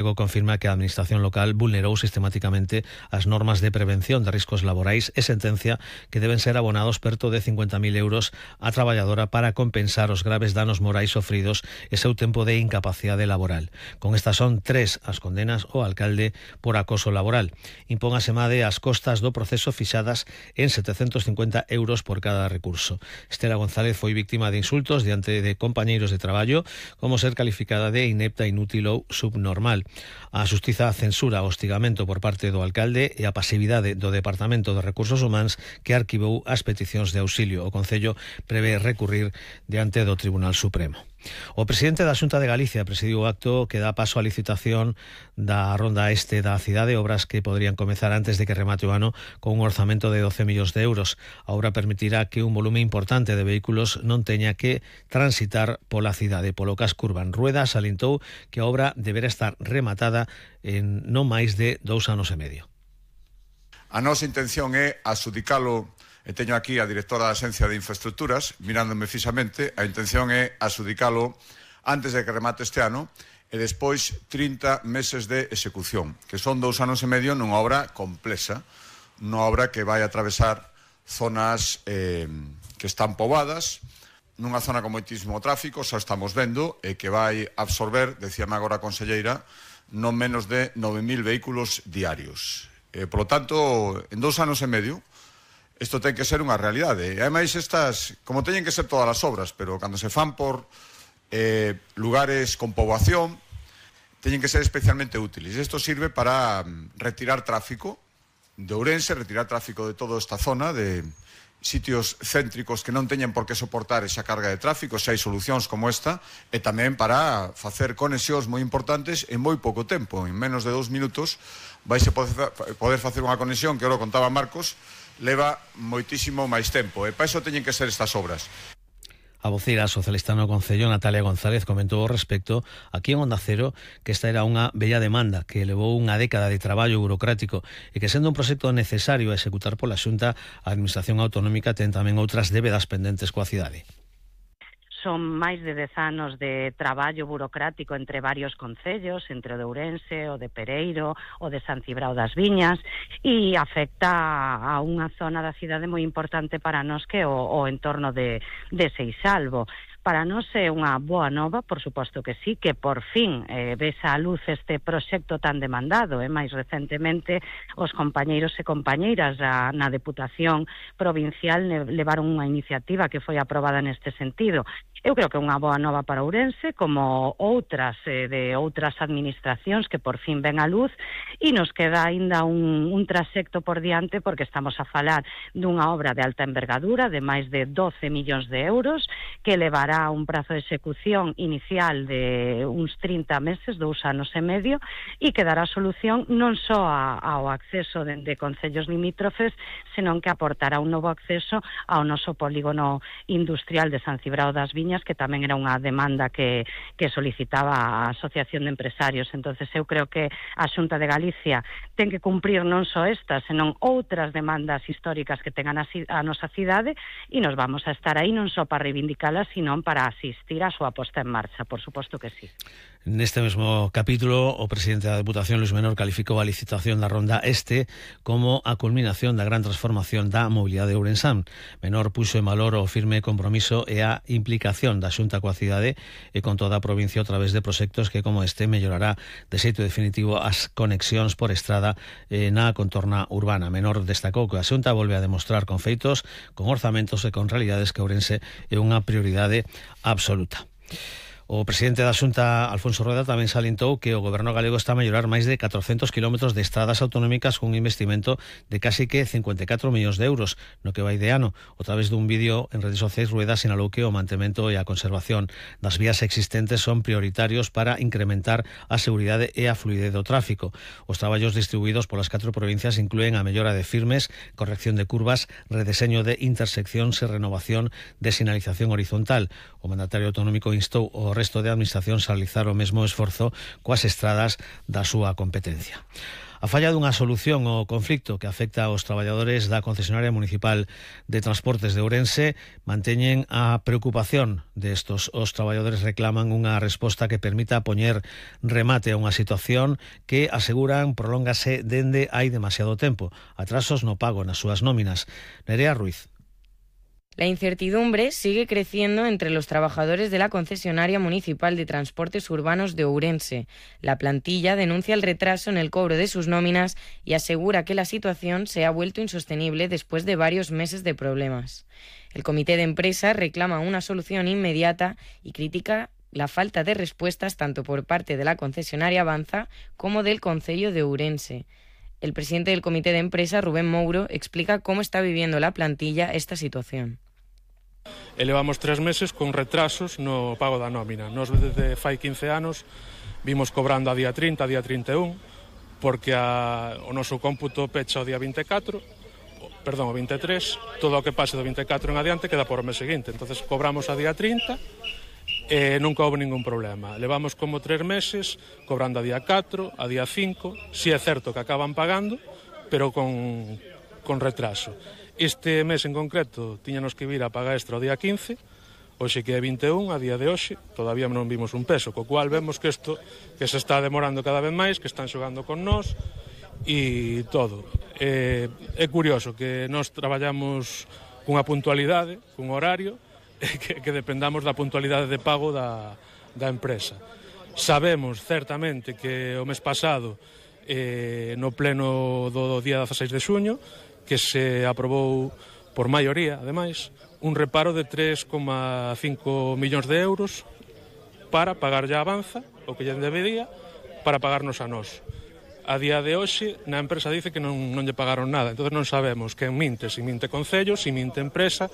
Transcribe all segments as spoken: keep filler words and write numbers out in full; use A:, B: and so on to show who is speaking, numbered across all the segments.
A: confirma que a Administración local vulnerou sistemáticamente as normas de prevención de riscos laborais e sentencia que deben ser abonados perto de cincuenta mil euros a traballadora para compensar os graves danos morais sofridos e seu tempo de incapacidade laboral. Con estas son tres as condenas ao alcalde por acoso laboral. Impón a Semade as costas do proceso fixadas en setecentos cincuenta euros por cada recurso. Estela González foi víctima de insultos diante de compañeiros de traballo, como ser calificada de inepta, inútil ou subnormal. A Xustiza censura o hostigamento por parte do alcalde e a pasividade do Departamento de Recursos Humanos, que arquivou as peticións de auxilio. O Concello prevé recurrir diante do Tribunal Supremo. O presidente da Xunta de Galicia presidiu o acto que dá paso á licitación da ronda este da cidade, obras que poderían comezar antes de que remate o ano con un orzamento de doce millóns de euros. A obra permitirá que un volume importante de vehículos non teña que transitar pola cidade. Polo casco urbano, Rueda salientou que a obra deberá estar rematada en non máis de dous anos e medio.
B: A nosa intención é adxudicalo. E teño aquí a directora da Axencia de Infraestructuras mirándome fixamente. A intención é adxudicalo antes de que remate este ano e despois trinta meses de execución, que son dous anos e medio nunha obra complexa, nunha obra que vai atravesar zonas eh, que están poboadas, nunha zona con moitísimo tráfico, xa estamos vendo, e que vai absorber, decíame agora a conselleira, non menos de nove mil vehículos diarios. E, por lo tanto, en dous anos e medio, isto ten que ser unha realidade. E ademais estas, como teñen que ser todas as obras, pero cando se fan por eh, lugares con poboación, teñen que ser especialmente útiles. Isto sirve para retirar tráfico de Ourense, retirar tráfico de toda esta zona, de sitios céntricos que non teñen por que soportar esa carga de tráfico, se hai solucións como esta, e tamén para facer conexións moi importantes en moi pouco tempo. En menos de dous minutos vaise poder facer unha conexión que ora contaba Marcos, leva moitísimo máis tempo, e para iso teñen que ser estas obras.
A: A voceira socialista no Concello, Natalia González, comentou ao respecto aquí en Onda Cero que esta era unha bella demanda que levou unha década de traballo burocrático e que, sendo un proxecto necesario a executar pola Xunta, a Administración Autonómica ten tamén outras débedas pendentes coa cidade.
C: Son máis de dez anos de traballo burocrático entre varios concellos, entre o de Ourense, o de Pereiro, o de San Cibrao das Viñas, e afecta a unha zona da cidade moi importante para nós, que é o, o entorno de, de Seixalbo. Para nós é unha boa nova, por suposto que sí, que por fin eh, ves a luz este proxecto tan demandado. E máis recentemente os compañeiros e compañeiras a, na Deputación Provincial levaron unha iniciativa que foi aprobada neste sentido. Eu creo que é unha boa nova para Ourense, como outras eh, de outras administracións que por fin ven a luz, e nos queda aínda un, un trasecto por diante, porque estamos a falar dunha obra de alta envergadura de máis de doce millóns de euros, que levará un prazo de execución inicial de uns trinta meses, dous anos e medio, e que dará solución non só a, ao acceso de, de concellos limítrofes, senón que aportará un novo acceso ao noso polígono industrial de San Cibrao das Viñas, que tamén era unha demanda que, que solicitaba a Asociación de Empresarios. Entonces eu creo que a Xunta de Galicia ten que cumprir non só estas, senón outras demandas históricas que tengan a, a nosa cidade, e nos vamos a estar aí non só para reivindicalas, sino para asistir a súa posta en marcha, por suposto que sí.
A: Neste mesmo capítulo, o presidente da Deputación, Luis Menor, calificou a licitación da Ronda Este como a culminación da gran transformación da mobilidade de Ourensán. Menor puxo en valor o firme compromiso e a implicación da Xunta coa cidade e con toda a provincia a través de proxectos que, como este, mellorará de xeito definitivo as conexións por estrada eh, na contorna urbana. Menor destacou que a Xunta volve a demostrar con feitos, con orzamentos e con realidades que Ourense é unha prioridade absoluta. O presidente da Xunta, Alfonso Rueda, tamén salientou que o goberno galego está a mellorar máis de catrocentos kilómetros de estradas autonómicas cun investimento de casi que cincuenta e catro millóns de euros no que vai de ano. O través dun vídeo en redes sociais, Rueda sinalou que o mantemento e a conservación das vías existentes son prioritarios para incrementar a seguridade e a fluidez do tráfico. Os traballos distribuídos polas catro provincias inclúen a mellora de firmes, corrección de curvas, redeseño de interseccións e renovación de sinalización horizontal. O mandatario autonómico instou o resto de administracións a realizar o mesmo esforzo coas estradas da súa competencia. A falla dunha solución ao conflicto que afecta aos traballadores da concesionaria municipal de transportes de Ourense manteñen a preocupación destos. Os traballadores reclaman unha resposta que permita poñer remate a unha situación que, aseguran, prolóngase dende hai demasiado tempo. Atrasos no pago nas súas nóminas. Nerea Ruiz.
D: La incertidumbre sigue creciendo entre los trabajadores de la concesionaria municipal de transportes urbanos de Ourense. La plantilla denuncia el retraso en el cobro de sus nóminas y asegura que la situación se ha vuelto insostenible después de varios meses de problemas. El comité de empresa reclama una solución inmediata y critica la falta de respuestas tanto por parte de la concesionaria Avanza como del Concello de Ourense. El presidente del comité de empresa, Rubén Mouro, explica cómo está viviendo la plantilla esta situación.
E: Elevamos tres meses con retrasos no pago da nómina. Nos desde fai quince anos vimos cobrando a día trinta, a día trinta e un, porque a, o noso cómputo pecha o día vinte e catro, perdón, o vinte e tres, todo o que pase do vinte e catro en adiante queda por o mes seguinte. Entonces cobramos a día trinta e nunca houve ningún problema. Levamos como tres meses cobrando a día catro, a día cinco, si é certo que acaban pagando, pero con, con retraso. Este mes en concreto tiñanos que vir a paga extra o día quince, hoxe que é vinte e un, a día de hoxe, todavía non vimos un peso, co cual vemos que isto que se está demorando cada vez máis, que están xogando con nós e todo. É, é curioso que nós traballamos cunha puntualidade, cun horario, que, que dependamos da puntualidade de pago da, da empresa. Sabemos certamente que o mes pasado, eh, no pleno do día dezaseis de xuño, que se aprobou por maioría, ademais, un reparo de tres coma cinco millóns de euros para pagar a Avanza, o que lle debería, para pagarnos a nós. A día de hoxe, na empresa dice que non, non lle pagaron nada, entonces non sabemos quen minte, se minte Concello, se minte empresa.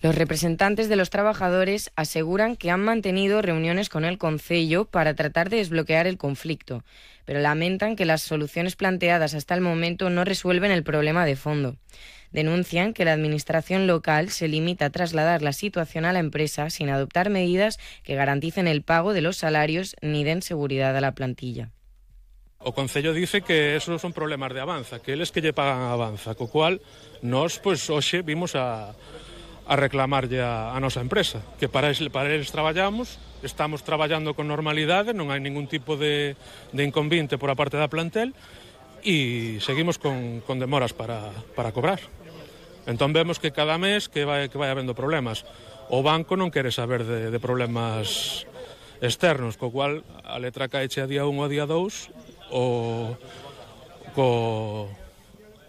D: Los representantes de los trabajadores aseguran que han mantenido reuniones con el Concello para tratar de desbloquear el conflicto, pero lamentan que las soluciones planteadas hasta el momento no resuelven el problema de fondo. Denuncian que la administración local se limita a trasladar la situación a la empresa sin adoptar medidas que garanticen el pago de los salarios ni den seguridad a la plantilla.
E: O Concello dice que esos son problemas de Avanza, que eles que lle pagan a Avanza, co cual nós, pois, hoxe vimos a... a reclamarlle a, a nosa empresa, que para eles, para eles traballamos, estamos traballando con normalidade, non hai ningún tipo de, de inconvinte por a parte da plantel e seguimos con, con demoras para, para cobrar. Entón vemos que cada mes que vai, que vai habendo problemas. O banco non quere saber de, de problemas externos, co cual a letra caeche a día un ou a día dous o, co,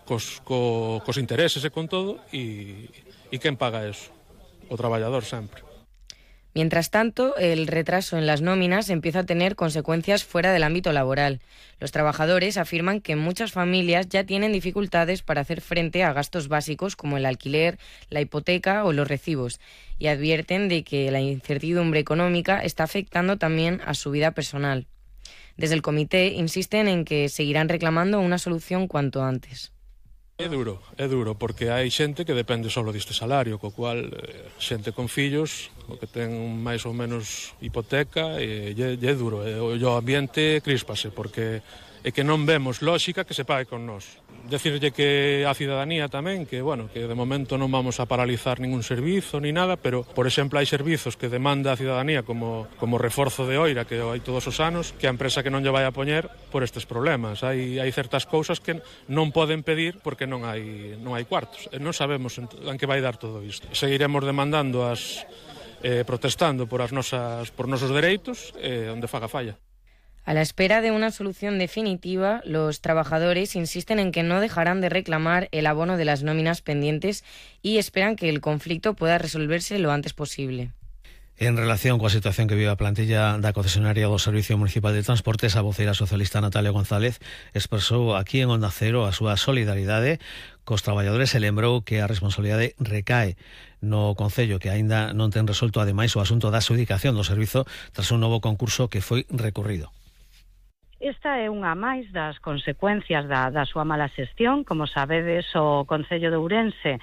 E: cos, co, cos intereses e con todo e ¿y quién paga eso? O traballador sempre.
D: Mientras tanto, el retraso en las nóminas empieza a tener consecuencias fuera del ámbito laboral. Los trabajadores afirman que muchas familias ya tienen dificultades para hacer frente a gastos básicos como el alquiler, la hipoteca o los recibos, y advierten de que la incertidumbre económica está afectando también a su vida personal. Desde el comité insisten en que seguirán reclamando una solución cuanto antes.
E: É duro, é duro, porque hai xente que depende só deste salario, co cual xente con fillos, o que ten máis ou menos hipoteca, e é duro, e o ambiente críspase, porque é que non vemos lógica que se pague con nós. Decirlle que a cidadanía tamén, que, bueno, que de momento non vamos a paralizar ningún servizo ni nada, pero, por exemplo, hai servizos que demanda a cidadanía como, como reforzo de oira, que hai todos os anos, que a empresa que non lle vai a poñer por estes problemas. Hai, hai certas cousas que non poden pedir porque non hai, non hai cuartos. E non sabemos en, en que vai dar todo isto. Seguiremos demandando as, eh, protestando por, as nosas, por nosos dereitos, eh, onde faga falla.
D: A la espera de una solución definitiva, los trabajadores insisten en que no dejarán de reclamar el abono de las nóminas pendientes y esperan que el conflicto pueda resolverse lo antes posible.
A: En relación coa situación que vive a plantilla da concesionaria do Servicio Municipal de Transportes, a voceira socialista Natalia González expresou aquí en Onda Cero a súa solidaridade cos traballadores e lembrou que a responsabilidade recae no Concello, que aínda non ten resolto ademais o asunto da adxudicación do servizo tras un novo concurso que foi recurrido.
C: Esta é unha máis das consecuencias da, da súa mala xestión. Como sabedes, o Concello de Ourense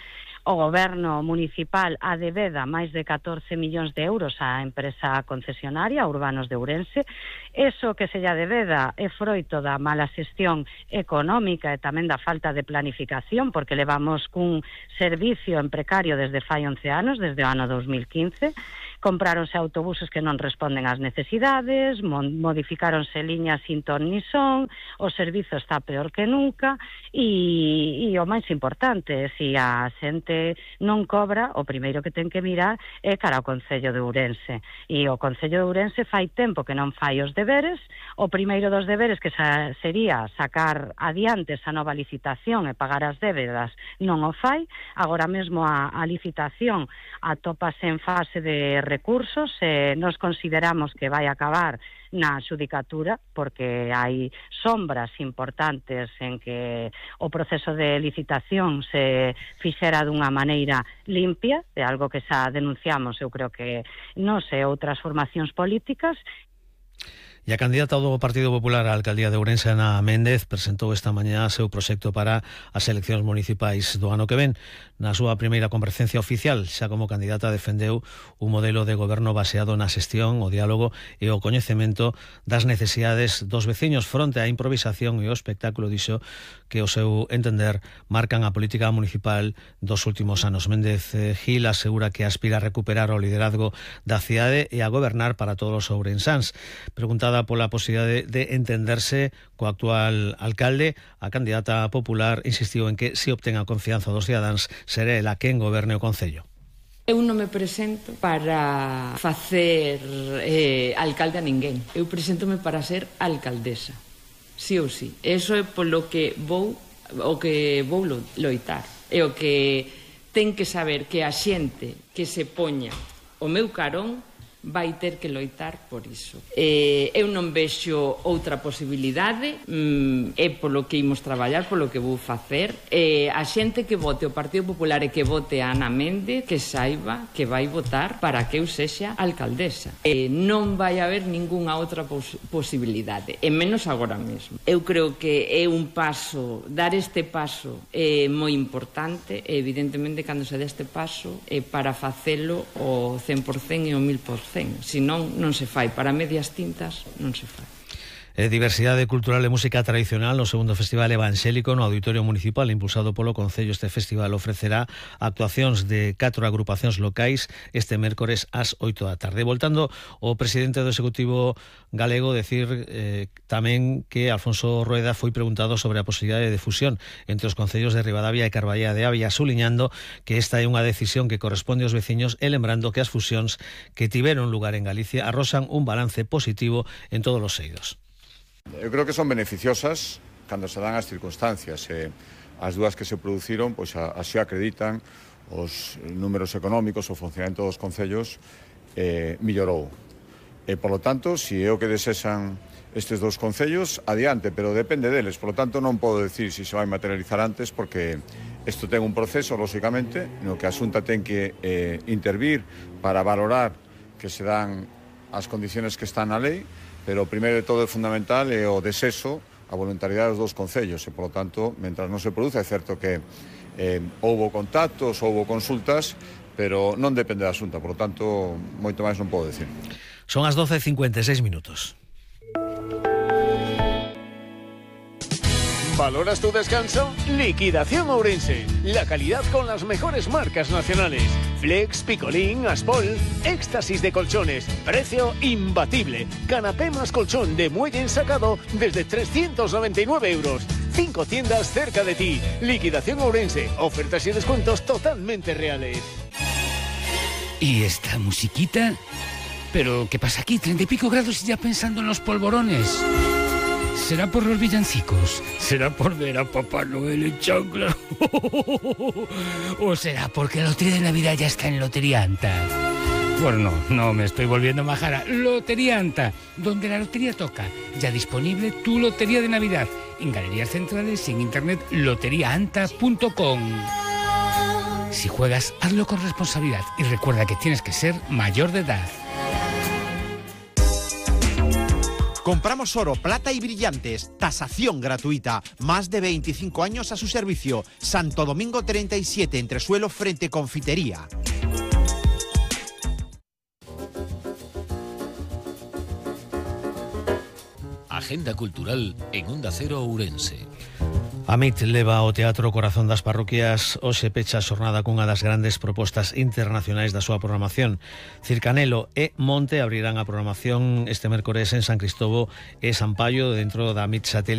C: o goberno municipal adebeda máis de catorce millóns de euros á empresa concesionaria Urbanos de Ourense. Eso que se lle adebeda é froito da mala xestión económica e tamén da falta de planificación, porque levamos cun servicio en precario desde fai once anos, desde o ano dos mil quince. Compráronse autobuses que non responden ás necesidades, modificáronse liñas sin ton ni son, o servizo está peor que nunca e, e o máis importante, se a xente non cobra, o primeiro que ten que mirar é cara ao Concello de Ourense. E o Concello de Ourense fai tempo que non fai os deberes. O primeiro dos deberes que sa, sería sacar adiante esa nova licitación e pagar as débedas non o fai. Agora mesmo a, a licitación atópase en fase de recursos e nos consideramos que vai acabar na xudicatura porque hai sombras importantes en que o proceso de licitación se fixera dunha maneira limpia, é algo que xa denunciamos, eu creo que nos e outras formacións políticas.
A: E a candidata do Partido Popular á alcaldía de Ourense, Ana Méndez, presentou esta mañá seu proxecto para as eleccións municipais do ano que ven. Na súa primeira comparecencia oficial, xa como candidata, defendeu un modelo de goberno baseado na xestión, o diálogo e o coñecemento das necesidades dos veciños fronte á improvisación e o espectáculo, dixo, que o seu entender marcan a política municipal dos últimos anos. Méndez Gil asegura que aspira a recuperar o liderazgo da cidade e a gobernar para todos os ourensáns. Preguntada pola posibilidade de entenderse co actual alcalde, a candidata popular insistiu en que se obtén a confianza dos cidadáns será ela quen goberne o Concello.
F: Eu non me presento para facer eh, alcalde a ninguén. Eu preséntome para ser alcaldesa, sí ou sí. Eso é polo que vou o que vou loitar. É o que ten que saber que a xente que se poña o meu carón vai ter que loitar por iso. Eh, eu non vexo outra posibilidade, mm, é polo que imos traballar, polo que vou facer. Eh, a xente que vote o Partido Popular e que vote a Ana Méndez, que saiba que vai votar para que eu sexa alcaldesa. Eh, non vai haber ningunha outra pos posibilidade, e menos agora mesmo. Eu creo que é un paso, dar este paso é moi importante, e evidentemente cando se dé este paso é para facelo o cen por cen e o mil por cen. Se non, non se fai. Para medias tintas non se fai.
A: E diversidade cultural e música tradicional no segundo Festival Evangélico no Auditorio Municipal impulsado polo Concello. Este festival ofrecerá actuacións de catro agrupacións locais este mércores ás oito da tarde. Voltando o presidente do Executivo galego decir eh, tamén que Alfonso Rueda foi preguntado sobre a posibilidade de fusión entre os concellos de Ribadavia e Carballeda de Avia, suliñando que esta é unha decisión que corresponde aos veciños e lembrando que as fusións que tiveron lugar en Galicia arrosan un balance positivo en todos os eidos.
B: Eu creo que son beneficiosas cando se dan as circunstancias. Eh, as dúas que se produciron, pois a, así acreditan os números económicos, o funcionamento dos concellos eh, millorou. E, por lo tanto, se é o que desexan estes dous concellos, adiante, pero depende deles. Por lo tanto, non podo decir se se vai materializar antes, porque isto ten un proceso, lógicamente, no que a Xunta ten que eh, intervir para valorar que se dan as condiciones que están na lei, pero o primeiro de todo é fundamental é o desexo, a voluntariedade dos dous concellos, e, por lo tanto, mentras non se produce, é certo que eh, houbo contactos, houbo consultas, pero non depende da Xunta, por lo tanto, moito máis non podo decir.
A: Son as doce e cincuenta e seis minutos.
G: ¿Valoras tu descanso? Liquidación Ourense. La calidad con las mejores marcas nacionales. Flex, Picolín, Aspol, éxtasis de colchones. Precio imbatible. Canapé más colchón de muelle ensacado desde trescientos noventa y nueve euros. Cinco tiendas cerca de ti. Liquidación Ourense. Ofertas y descuentos totalmente reales.
H: ¿Y esta musiquita? ¿Pero qué pasa aquí? Treinta y pico grados y ya pensando en los polvorones. ¿Será por los villancicos? ¿Será por ver a Papá Noel en chancla? ¿O será porque la lotería de Navidad ya está en Lotería Anta? Bueno, no, no me estoy volviendo majara. Lotería Anta, donde la lotería toca. Ya disponible tu lotería de Navidad. En galerías centrales y en internet lotería anta punto com. Si juegas, hazlo con responsabilidad y recuerda que tienes que ser mayor de edad.
I: Compramos oro, plata y brillantes. Tasación gratuita. Más de veinticinco años a su servicio. Santo Domingo treinta y siete, entresuelo frente Confitería.
J: Agenda cultural en Onda Cero Ourense.
A: A M I T leva ao Teatro Corazón das Parroquias hoxe pecha a xornada cunha das grandes propostas internacionais da súa programación. Circanelo e Monte abrirán a programación este mércores en San Cristovo e San Paio dentro da M I T Satélite